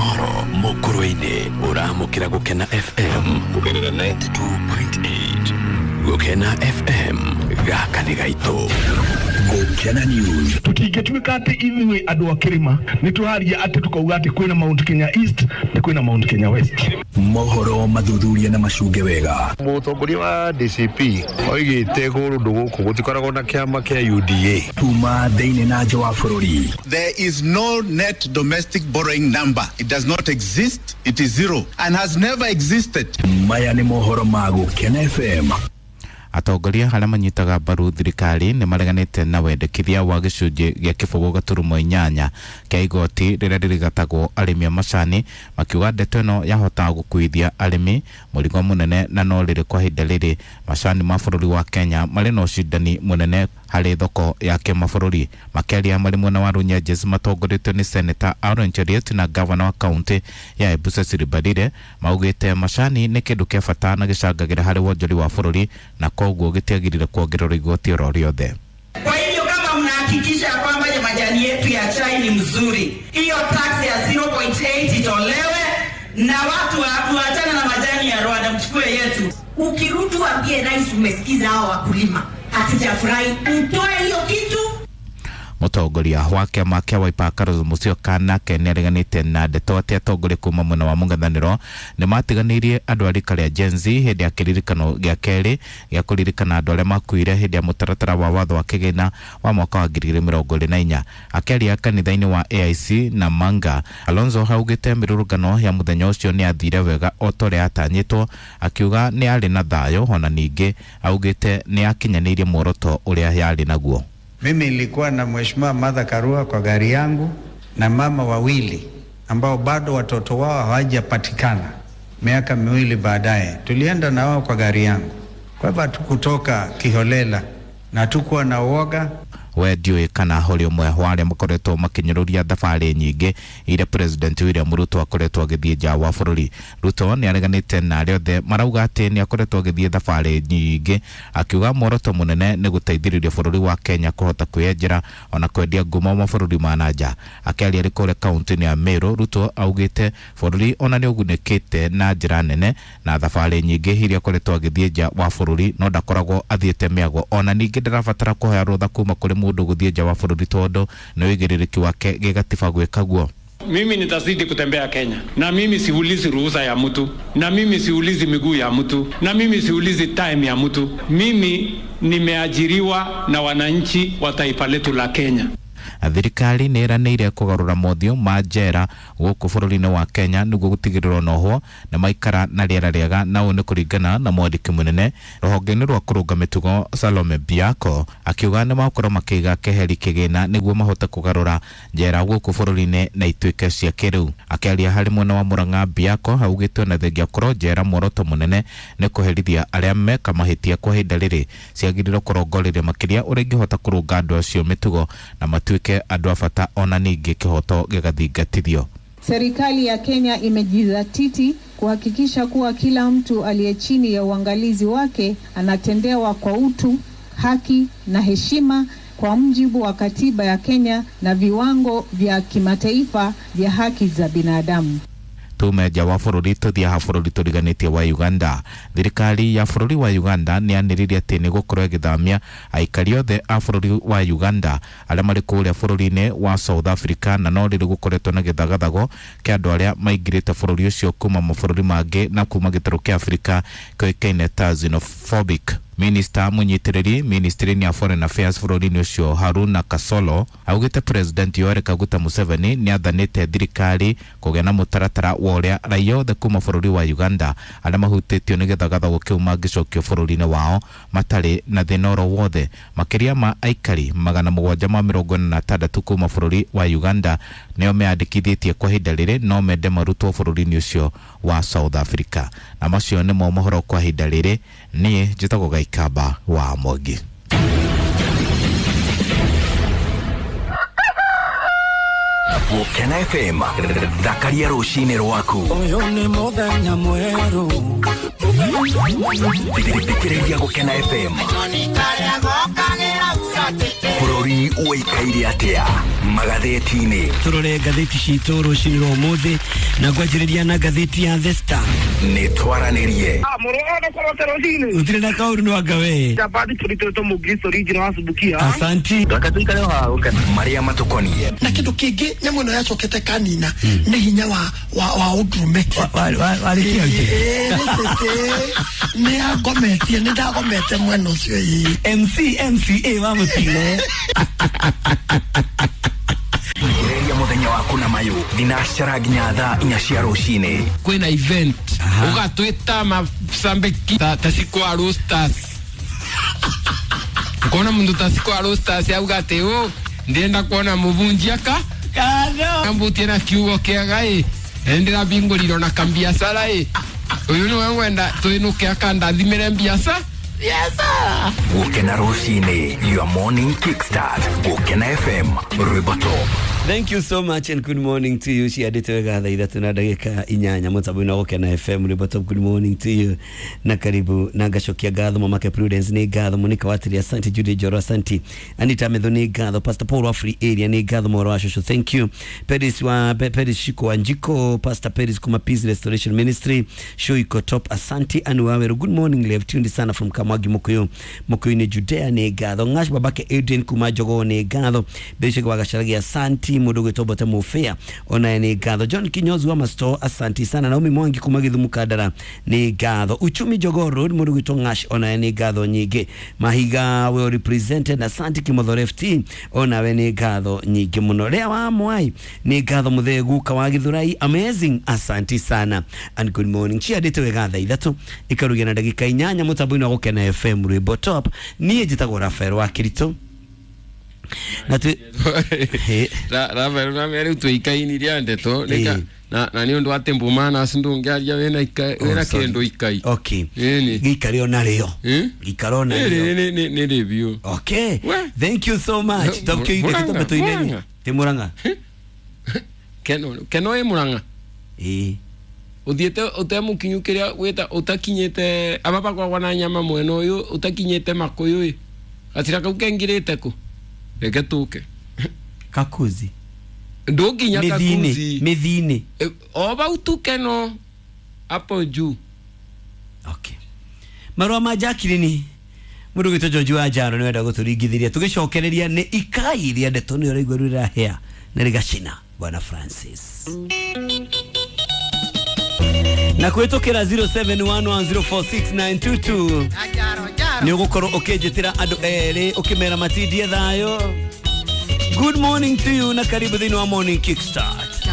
Mohoro Mukurweini uramukira Gukena FM kugerera 92.8 Gukena FM gaka nĩ gaitũ. Gukena News. Tutingĩtuĩka atĩ ithuĩ andũ a kĩrĩma nĩ tũraria atĩ tukauga atĩ kwĩna Mount Kenya East na kwĩna Mount Kenya West. Mohoro mathuthuria na macunge wega. Mũtongoria wa DCP oigĩte kũndũ gũkũ gũtikoragwo na kĩama kĩa UDA. Kuma thĩinĩ na nja wa bũrũri. There is no net domestic borrowing number. It does not exist. It is zero and has never existed. Maya nĩ mohoro ma Gukena FM. Atongoria arĩa manyitaga mbaru thirikari nĩ mareganĩte na wendekithia wa gĩcunjĩ gĩa kĩbũgũ gaturumo inyanya kĩa igoti rĩrĩa rĩrigatagwo arĩmi a macani, makiuga ndeto ĩno yahota gũkuithia arĩmi mũrigo mũnene, na no rĩrĩ kwa ihinda rĩrĩ macani ma bũrũri wa Kenya marĩ na ũcindani mũnene harĩ thoko ya kĩmabũrũri. Makĩaria marĩ mwena wa Runyenjes matongoretio nĩ Senator Aaron Cheruiyot na gavana wa kaunti ya Embu Cecily Mbarire, maugĩte macani nĩ kĩndũ kĩa bata na gĩcangagĩra harĩ wonjori wa bũrũri na koguo gĩtiagĩrĩire kuongererwo igoti oro rĩothe. Kwa hivyo kama mnahakikisha kwamba majani yetu ya chai ni mzuri, hiyo tax ya 0.8 itolewe na watu waachane na majani ya Rwanda, mchukue yetu. Ukirudi waambie rais umesikiza hao wakulima, hatujafurahi, mtoe hiyo kitu. Mũtongoria wa kĩama kĩa Wiper Kalonzo Musyoka nake nĩareganĩte na ndeto atĩ atongoria kuma mwena wa mũng'ethanĩro nĩmatiganĩirie andũ a rika rĩa Gen Z hĩndĩ ya kĩririkano gĩa kerĩ gĩa kũririkana andũ arĩa makuire hĩndĩ ya mũtaratara wa watho wa kĩgĩna wa mwaka wa 2024. Akĩaria kanitha-inĩ wa AIC na Manga, Kalonzo augĩte mĩrũrũngano ya mũthenya ũcio nĩ yathire wega o ta ũrĩa yatanyĩtwo, akiuga nĩ yarĩ na thayũ, ona ningĩ augĩte nĩ yakinyanĩirie muoroto ũrĩa yarĩ naguo. Mimi nilikuwa na Mheshimiwa Martha Karua kwa gari yangu na mama wawili ambao bado watoto wao hawajapatikana. Miaka miwili baadaye tulienda na wao kwa gari yangu. Kwa hivyo hatukutoka kiholela na hatukuwa na uoga. We ndiũĩ kana ũrĩ ũmwe wa arĩa makoretwo makĩnyũrũria thabarĩ nyingĩ iria President William Ruto akoretwo agĩthiĩ nja wa bũrũri. Ruto nĩ areganĩte na arĩa othe marauga atĩ nĩ akoretwo agĩthiĩ thabarĩ nyingĩ, akiuga muoroto mũnene nĩ gũteithĩrĩria bũrũri wa Kenya kũhota kwĩyenjera ona kwendia ngumo mabũrũri ma na nja. Akĩaria arĩ kũrĩa kaunti-inĩ ya Meru, Ruto augĩte bũrũri ona nĩ ũgunĩkĩte na njĩra nene na thabarĩ nyingĩ iria akoretwo agĩthiĩ nja wa bũrũri, no ndakoragwo athiĩte mĩago, ona ningĩ ndarabatara kũhoya rũtha kuma kũrĩ mũndũ gũthiĩ nja wa bũrũri tondũ nĩ ũigĩrĩrĩki wake gĩgatiba gwĩka guo. Mimi nitazidi kutembea Kenya, na mimi siulizi ruhusa ya mtu, na mimi siulizi miguu ya mtu, na mimi siulizi time ya mtu. Mimi nimeajiriwa na wananchi wa taifa letu la Kenya. Thirikari nĩ ĩranĩire kũgarũra mothiũ ma njera gũkũ bũrũri-inĩ wa Kenya nĩguo gũtigĩrĩrwo nohwo na maikara na rĩera rĩega, na ũũ nĩ kũringana na mwandĩki mũnene rũhonge-inĩ rwa kũrũnga mĩtugo Salome Biako, akiuga nĩ magũkorwo makĩiga keheri kĩgĩna nĩguo mahote kũgarũra njera gũkũ bũrũri-inĩ na ituĩke cia kĩrĩu. Akĩaria harĩ mwena wa Murang'a, Biako augĩte ona thengia korwo njera muoroto mũnene nĩ kũherithia arĩa meka mahĩtia kwa ihinda rĩrĩ, ciagĩrĩirwo kũrongoreria makĩria ũrĩa ingĩhota kũrũnga andũ acio mĩtugo na matuĩke andũ a bata, ona ningĩ kĩhoto gĩgathingatithio. Serikali ya Kenya imejizatiti kuhakikisha kuwa kila mtu aliye chini ya uangalizi wake anatendewa kwa utu, haki na heshima kwa mujibu wa katiba ya Kenya na viwango vya kimataifa vya haki za binadamu. Tume nja wa bũrũri tũthiaga bũrũri tũriganĩtie wa Uganda. Thirikari ya bũrũri wa Uganda nĩ yanĩrĩire atĩ nĩ gũkorwo ĩgĩthamia aikari othe a bũrũri wa Uganda arĩa marĩ kũrĩa bũrũri-inĩ wa South Africa, na no rĩrĩ gũkoretwo na gĩthagathago kĩa andũ arĩa maingĩrĩte bũrũri ũcio kuma mabũrũri mangĩ na kuma gĩtarũ kĩa Afrika kĩoĩkaine ta xenophobic. Minister mũnyitĩrĩri ministry-inĩ ya Foreign Affairs bũrũri-inĩ ũcio Haruna Kasolo augĩte President Yoweri Kaguta Museveni nĩ athanĩte thirikari kũgĩa na mũtaratara wa ũrĩa raia othe kuma bũrũri wa Uganda arĩa mahutĩtio nĩ gĩthagathago kĩu mangĩcokio bũrũri-inĩ wao matarĩ na thĩna oro wothe. Makĩria ma aikari 746 kuma bũrũri wa Uganda nĩo meyandĩkithĩtie kwa ihinda rĩrĩ no mende marutwo bũrũri-inĩ ũcio wa South Africa. Na macio nĩmo mohoro kwa ihinda rĩrĩ. Niĩ njĩtagwo Gaikamba wa Mwangi. Gukena FM thakaria rũcinĩ rwaku. Ũyũ nĩ mũthenya mwerũ. Thikĩrĩria Gukena FM. Bũrũri ũikaire atĩa? Magathĩti-inĩ. Turore ngathĩti citũ rũcinĩ rwa ũmũthĩ na ngwanjĩrĩria na ngathĩti ya The Star. Nĩ twaranĩrie. Gũtirĩ na kaũru no anga we. Asanti. Marĩa matukoniĩ. Na kĩndũ kĩngĩ nyamũ ĩno yacokete kanina nĩ hinya wa ũndũrũme. Nĩ agometie, nĩ ndagomete mwena ũcio ĩĩ. MC MCA wa mũtino. Ria muthenya waku na mayu thinacara nginya thaa 4 cia rucini. Kwina event ugatwita masambeki ta cikwa roasters ukona mundu ta cikwa roasters auga ati u ndienda kuona muvunjia ka kado mbutie na kiugo kiaga i ndira binguriro na kambiacara i uyu niwe ngwenda twinuke akandathimire mbiaca. Yes, sir. Gukena rucini, your morning kickstart. Gukena FM, Rwimbo Top. Thank you so much and good morning to you. Ciandĩte wega thaa 3 na ndagĩka 8 mũtambo-inĩ wa Gũkena FM Rwimbo Top. Good morning to you na karibu na ngacokia ngatho Mamake Prudence nĩ ngatho, Monica Watiri asante, Judy Njoro asante, Anita Metho nĩ ngatho, Pastor Paul wa Free Area nĩ ngatho, Mworo wa Shosho thank you, Pedis wa Pedis Shiko Wanjiko, Pastor Pedis kuma Peace Restoration Ministry Shoiko Top asante, Anu Waweru good morning, left tuned sana from Kamwagi Mukuyu Mukuyu-inĩ Judea nĩ ngatho, Ng'ash babake Adrian kuma Jogoo nĩ ngatho, Bishop wa Gacharagi asante, mundu gwitwo Bote Mufia onaye nĩ ngatho, John Kinyozi wa Masto asanti sana, Naomi Mwangi kuma Githumu Kandara nĩ ngatho, Uchumi Jogoo Road mundu gwitwo Ng'ash onaye nĩ ngatho nyingĩ, Mahiga well represented asanti, Kimotho FT onawe nĩ ngatho nyingĩ mũno, Rea wa Mwai nĩ ngatho, Muthee Guka wa Githurai amazing asanti sana and good morning. Ciandĩte wega thaa 3 ikarugia na ndagĩka 8 mũtambo-inĩ wa Gũkena FM Rwimbo Top. Niĩ njĩtagwo Rafael wa Kirito. Na tu Rafael na rĩu twĩikainirie ndeto na nĩ ũndũ atĩ mbũmana ndũngĩaria wĩna wĩna kĩndũ ikai. Okay. Gĩikare ona rĩo. Gĩikare ona rĩo. Nĩ rĩbiũ. Okay. Thank you so much. Tokyo ide tuineni. Ti Murang'a. Keno ĩ Murang'a. Ĩĩ. Uthiete utemukinyu kiria wita utakinyite ababa kwagwa na nyama mwena uyu utakinyite makuyu i gacira kau kengirite ku reke tuke kakuzi ndunginya kakuzi mithini o bau tuke no hapo juu. Okay. Marua ma Jacqueline mundu gwitwo George wa Njaro ni wenda guturingithiria tugicokereria ni ikai ria ndeto ni uraigua rurahea na rigacina Bwana Francis na kwĩtũkĩra 0711046922 nĩ ũgũkorwo ũkĩnjĩtĩra andũ erĩ ũkĩmera matindie thayũ. Good morning to you na karibu thĩinĩ wa Morning Kickstart.